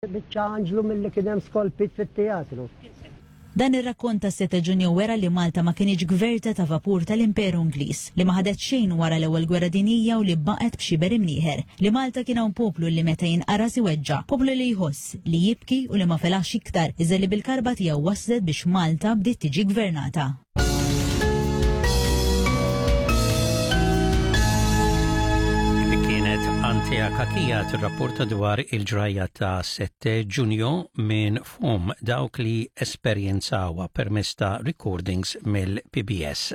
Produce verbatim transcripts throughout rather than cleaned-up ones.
Biċċa anġlu milli kien hemm skolpit fit-teatru. Dan ir-rakkont ta' Sette Ġunju wera li Malta ma kinitx gverta ta' vapur tal-Imperu Ingliż, li ma ħadet xejn wara l-Ewwel Gwerra Dinjija u li baqgħet b'xiber imnieħer, li Malta kien hawn poplu li meta jinqaras iweġġa', poplu li jħoss, li jibki u li ma felaħx iktar, iżda li bil-karba tiegħu waslet biex Malta bdiet tiġi gvernata. Dik kienet Antea Cachia tirrapporta dwar il-ġrajja ta' sette Ġunju minn fom dawk li esperjenzawha permezz ta' recordings mill-P B S.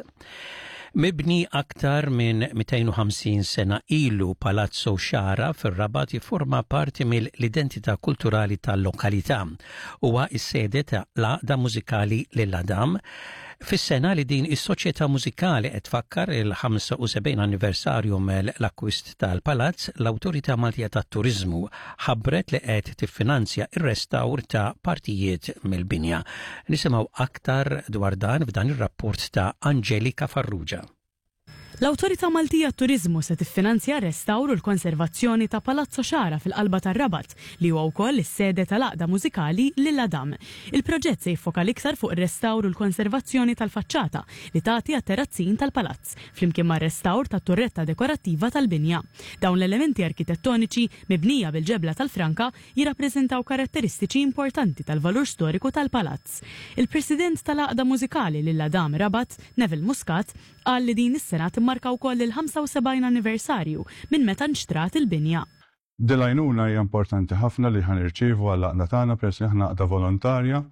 Mibni aktar minn mitejn u ħamsin sena ilu, Palazzo Xara fir-Rabat jiforma parti mill-identità kulturali tal-lokalità. Huwa is-sede ta' l-Għaqda Mużikali Lil Adam. Fis-sena li din is-soċjetà mużikali qed tfakkar il-ħamsa u sebgħin anniversarju mill-akkwist tal-palazz, l-Awtorità Maltija tat-Turiżmu ħabbret li qed tiffinanzja ir-restawr ta' partijiet mill-binja. Nisimgħu aktar dwar dan f'dan ir-rapport ta' Angelika Farrugia. L-Awtorità Maltija Turiżmu se tiffinanzja restawr u l-konservazzjoni ta' Palazzo Xara fil-qalba tar-Rabat, li huwa wkoll is-sede tal-Għaqda Mużikali Lil Adam. Il-proġett se jiffoka l-iktar fuq ir-restawr u l-konservazzjoni tal-faċċata li tagħti għat-terrazzin tal-palazz, flimkien mar-restawr tat-turretta dekorattiva tal-binja. Dawn l-elementi arkitettoniċi mibnija bil-ġebla tal-franka jirrappreżentaw karatteristiċi importanti tal-valur storiku tal-palazz. Il-President tal-Għaqda Mużikali Lil Adam Rabat, Neville Muscat, qal li din is-sena timmarka wkoll il-ħamsa u sebgħin anniversarju minn meta nxtrat il-binja. Din l-għajnuna hija importanti ħafna li ħa nirċievu għall-għaqda tagħna, peress li aħna għaqda volontarja,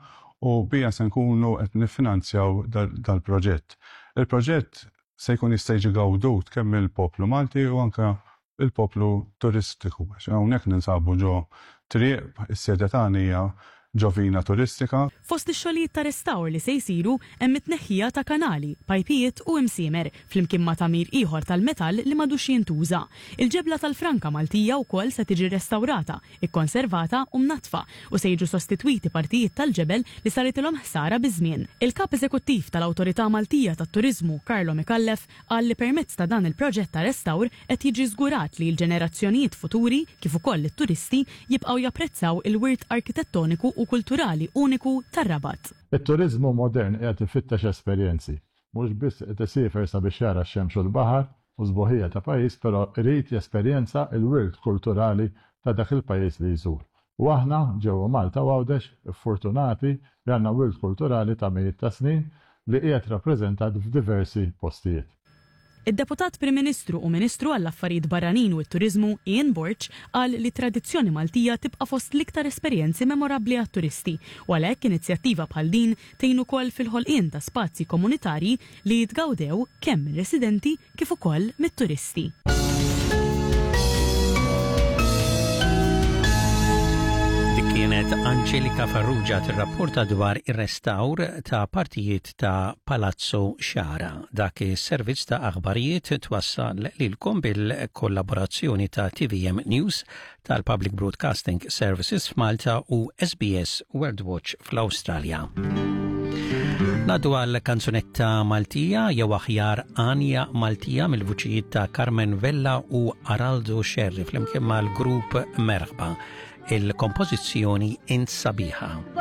u biha se nkunu qed niffinanzjaw dal-proġett. Il-proġett se jkun jista' jiġi gawdut kemm il-poplu Malti u anke il-poplu turistiku. Għax hawnhekk ninsabu ġo triq, is-sede tagħna hija ġo vina turistika. Fost ix-xogħlijiet ta' restawr li se jsiru hemm it-tneħħija ta' kanali, pajpijiet u imsiemer, flimkien ma' tagħmir ieħor tal-metall li m'għadux jintuża. Il-ġebla tal-franka Maltija wkoll se tiġi restawrata, ikkonservata u mnatfa, u se jiġu sostitwiti partijiet tal-ġebel li saritilhom ħsara biż-żmien. Il-kap eżekuttiv tal-Awtorità Maltija tat-Turiżmu, Carlo Micallef, qal li permezz ta' dan il-proġett ta' restawr qed jiġi żgurat li l-ġenerazzjonijiet futuri kif ukoll it-turisti jibqgħu japprezzaw il-wirt arkitettoniku u kulturali uniku tar-Rabat. Il-turizmu modern qiegħed ifittex esperjenzi. Mhux biss qed isiefer sabiex jara x-xemx u l-baħar u sbuħija ta' pajjiż, però irid jesperjenza il-wirt kulturali ta' dak il-pajjiż li jżur. U aħna ġewwa Malta u Għawdex fortunati li għandna wirt kulturali ta' mijiet ta' snin li qiegħed rappreżentat f'diversi postijiet. Id-Deputat Prim Ministru u Ministru għall-Affarijiet Barranin u t-Turiżmu Ian Borg qal li tradizzjoni Maltija tibqa' fost l-iktar esperjenzi memorabbli għat-turisti u għalhekk inizjattiva bħal din tgħin ukoll fil-ħolqien ta' spazji komunitarji li jitgawdew kemm mir-residenti kif ukoll mit-turisti. Dik kienet Angelika Farrugia tirrapporta dwar ir-restawr ta' partijiet ta' Palazzo Xara. Dak is-servizz ta' aħbarijiet twassal lilkom bil-kollaborazzjoni ta' T V M News tal-Public Broadcasting Services f'Malta u S B S World Watch fl-Awstralja. Ngħaddu għal kanzunetta Maltija, jew aħjar għanja Maltija, mill-vuċijiet ta' Carmen Vella u Araldo Scerri flimkien mal-grupp Merħba, il-kompożizzjoni Int Sabiħa.